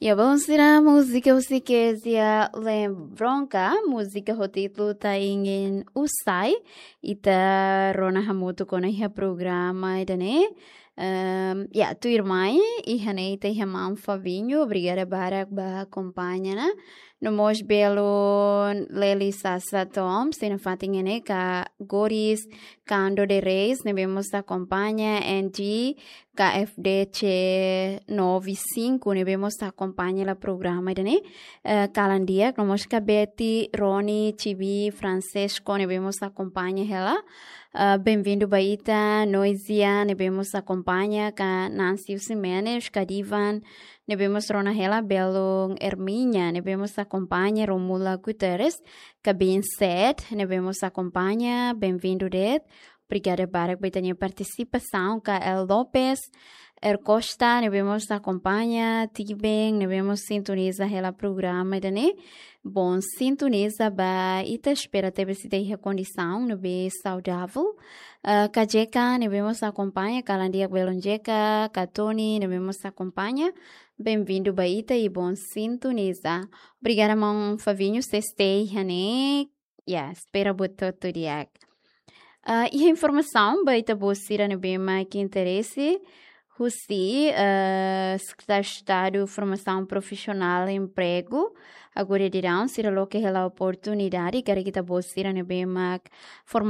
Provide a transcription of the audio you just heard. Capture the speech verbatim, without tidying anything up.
Ya, bom, sira múzika husi Kezia Lembronka, múzika ho títulu Ta Ingin Usai, ita rona hamutuk ona iha programa ida-ne'e. Ehm, ya, tuirmai, iha ne'e ita iha maun Fabinho, obrigada barak ba akompaña ona. No mós belun Leli Sasa Tom, sira-nia fatin ne'e ka Goris Cando de Reis, ne'ebé mós akompaña, N G, K F D C nove cinco, ne'ebé mós akompaña hela programa ida-ne'e. Eh, kalan di'ak, no mós ka Betty, Rony, Chibi, Francesco, ne'ebé mós akompaña hela. Eh, benvindu ba ita, Noisia, ne'ebé mós akompaña, ka Nancy Ximenes, ka Divan, ne'ebé mós rona hela, belun Herminia, ne'ebé mós akompaña, Romula Guterres, ka Bin Set, ne'ebé mós akompaña, benvindu de'it. Obrigada barak ba ita-nia partisipasaun, ka El Lopes, Er Costa, ne'ebé mós akompaña, Tiben, ne'ebé mós sintoniza hela programa ida-ne'e. Bom, sintoniza ba ita, espera tebes ita iha kondisaun ne'ebé saudavel. Ah, K J K, ne'ebé mós akompaña, kalan di'ak belun J K, ka Tony, ne'ebé mós akompaña. Benvindu ba ita i bom sintoniza. Obrigada, maun Fabinho, sei stay iha ne'e. Ya, espera buat hotu di'ak. Ah, iha informasaun ba ita-boot sira ne'ebé mak interese husi, eh, Sekretáriu Estadu Formasaun Profisionál Empregu, agora daudaun sira loke hela oportunidade karik ita-boot sira ne'ebé mak forma